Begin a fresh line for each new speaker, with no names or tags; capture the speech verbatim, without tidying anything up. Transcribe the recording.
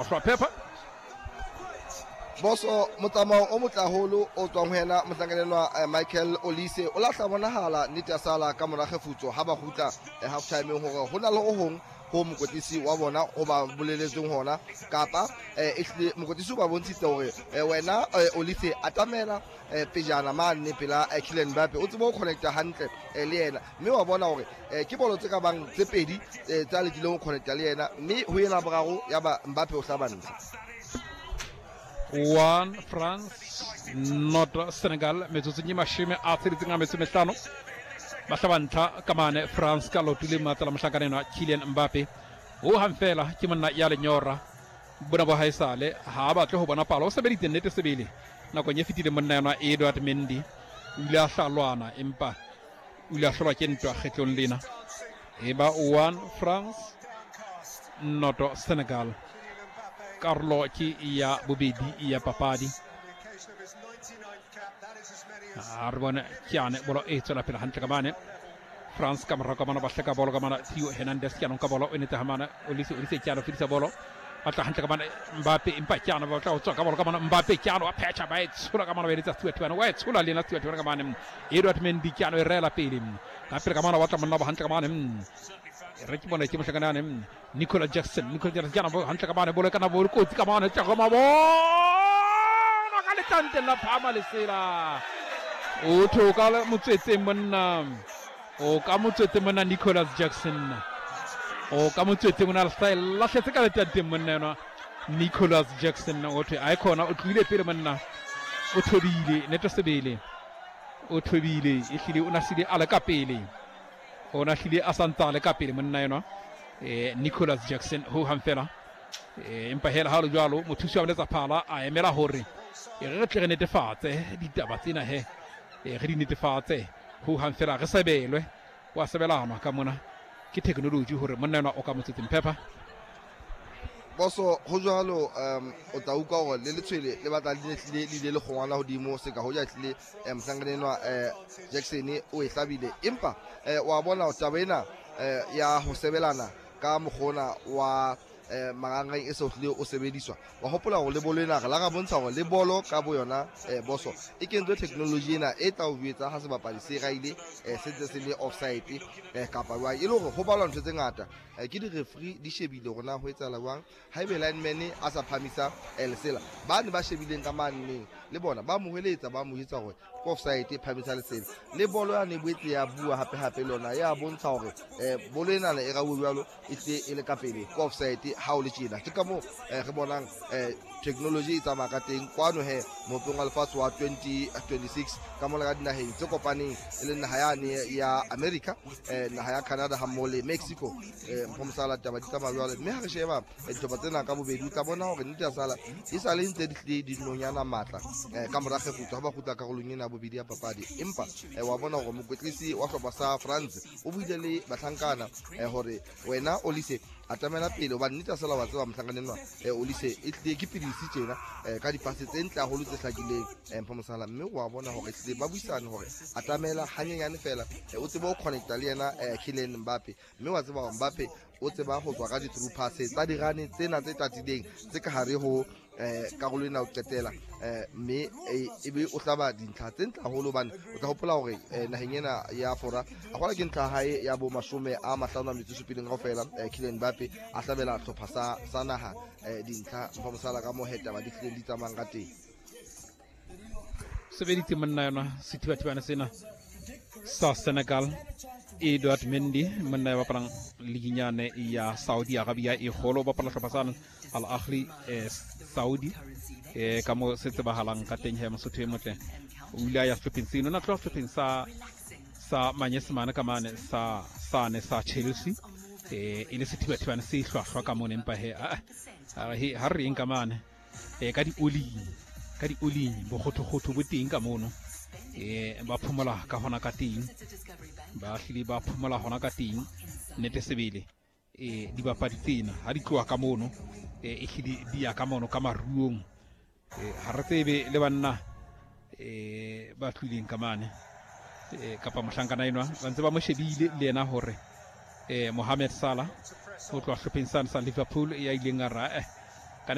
Hlwa phepa.
Boso motsamao o motle haholo o tswang ho yena mohlankanenwa eh, Michael Olise o lahla bonahala nnete ya sala ka mora kgefutso ha ba kgutla eh, half timeng hore ho na le ho hong ho mokwetlisi wa bona o ba boleletseng hona kapa eh, ehlile mokwetlisi o ba bontshitse hore eh, wena eh, Olise atamela eh, pejana mane pela eh, Kylian Mbappe o tsebe ho connecta hantle eh, le yena mme wa bona hore eh, ke bolo tse ka bang tse pedi eh, tse a lekileng ho connecta le yena mme ho ena boraro ya ba Mbappe o hlaba ntlha.
One France not Senegal metsotsong e mashome a tsheletseng a metso e mehlano ba hlaba ntlha ka mane France ka loto le matla la mohlankana enwa Kylian Mbappe ho hang fela ke monna ya lenyora bona bo haesale ha a batle ho bona palo o sebeditse nnete sebele nakong e fetileng monna enwa Edouard Mendy o ile a hlalwana empa o ile a hlolwa ke ntwa kgetlong lena e ba one France noto Senegal. Karolo ke ya bobedi ya papadi a re bone ke bolo e tswela pele hantle ka mane France ka morao ka mona ba hleka bolo ka mona Theo Hernandez ke anong ka bolo o nete ha mane Olise Olise ke ano fedisa bolo ba tla hantle ka mane Mbappe empa ke ano ba tla ho tswa ka bolo ka mona Mbappe ke ano wa phetha ba e tshola ka mona ba eletsa Stuart Tiwana wa e tshola le yena Stuart Tiwana ka mane Edouard Mendy ke ano e reela pele ka pele ka mona ba tla monna ba hantle ka mane re ke bona ke mohlakana yane Nicola Jackson Nicola Jackson ke ana hantle ka mane bolo kana bolo kotsi ka mane tja mabona ka letanteng la phama lesela o tho ka motswetseng monna o ka motswetseng monna Nicholas Jackson o ka motswetseng o na le lahletse ka letanteng monna enwa Nicholas Jackson o thwe a khona o tlohile pele monna o thobile nete sebele o thobile ehlile o na sile a le ka pele o na hlile a santsa a le ka pele monna enwa eh, Nicholas Jackson ho hang fela eh, empa hela ha le jwalo mothusi wa boletsa phala a emela hore e re tle re netefatse ditaba tsena he e re di netefatse ho hang fela re sebelwe wa sebelanwa ka mona ke technology hore monna enwa o ka motswetseng phepa.
Boso ho jwalo um o tla utlwa hore le letshwele le batla le hlile le ile le kgongwana hodimo se ka hoja hlile eh, mohlankana enwa eh, Jackson o e hlabile empa eh, wa bona taba ena eh, ya ho sebelana ka mokgona wa eh, marangrang e se o hlile o sebediswa wa hopola hore le bolo ena re la ra bontsha hore le bolo ka bo yona eh, boso e kentswe technology ena e tla o jwetsa ha sebapadi se raile eh, se ntse se le offside eh, kapa jwang e le hore ho balwa ntho tse ngata eh, ke di-referee di shebile hore na ho etsahala jwang haebe lineman a sa phamisa eh, lesela ba ne ba shebileng ka maneng le bona ba mo hweletsa ba mo jwetsa hore ke offside phamisa lesela le bolo yane e boetse ya bua hape hape le yona ya bontsha hore eh, bolo enana e rauwe jwalo e tle e le ka pele ke offside ha o le tjena ke ka moo eh, re bonang eh, technology e tsamaya ka teng kwano he mopeng wa lefatshe wa twenty twenty-six ka mona ka dinaheng tse kopaneng e leng naha yane ya America eh, naha ya Canada ha mmoho le Mexico eh, mpho mosala taba di tsamaya jwale mme ha re sheba eh, dihlopha tsena ka bobedi o tla bona hore nnete ya sala e sa le ntse di hlile di nonyana matla eh, ka mora kgefutso ha ba kgutla karolong ena ya bobedi ya papadi empa eh, wa bona hore mokwetlisi wa hlopha sa France o buile le bahlankana eh, hore wena Olise atamela pele hobane nnete ya sala wa tseba mohlankana enwa eh, Olise e hlile ke pidisi tjena eh, ka dipase tse ntle haholo tse hlakileng eh, mpho mosala mme wa bona hore hlile ba buisane hore atamela hanyenyane fela eh, o tsebe ho connecta le yena eh, Kylian Mbappe mme wa tseba hore Mbappe o tseba ho tswa ka di-through pass tsa dirane tsena tse tatileng tse ka hare ho eh, karolo ena ho qetela eh, mme e be o hlaba dintlha tse ntle haholo hobane o tla hopola hore eh, naheng ena ya Fora a gola ke ntlha hae ya bo mashome a mahlano a metso e supileng kaofela eh, Kylian Mbappe a hlabela hlopha sa, sa naha eh, dintlha mpha mosala ka mo hetaba di hlileng di tsamayang ka teng.
Sebeditse monna yona sethibathibane sena sa Senegal Edouard Mendy monna ya bapalang liginyane ya Saudi Arabia e kgolo bapala hlopha sa Al Ahly eh, Saudi eh, ka mo se tsebahalang ka teng he Mosotho e motle o ile a ya sehlopheng seno na tloha sehlopheng sa sa manyesemane ka mane sa sane sa Chelsea eh, e le sethibathibane se hlwahlwa ka mone empa he a ha re eng ka mane eh, ka di-oling ka di-oling bokgothokgotho bo teng ka mono eh, ba phomola ka hona ka teng ba hlile ba phomola hona ka teng nnete sebele eh, dibapadi tsena ha di tloha ka mono eh, e hlile di ya ka mono ka maruong eh, ha re tsebe le banna eh, ba tlileng ka mane eh, kapa mohlankana enwa ba ntse ba mo shebile le yena hore eh, Mohamed Salah ho tloha hlopheng sane sa Liverpool ya ileng a ra eh,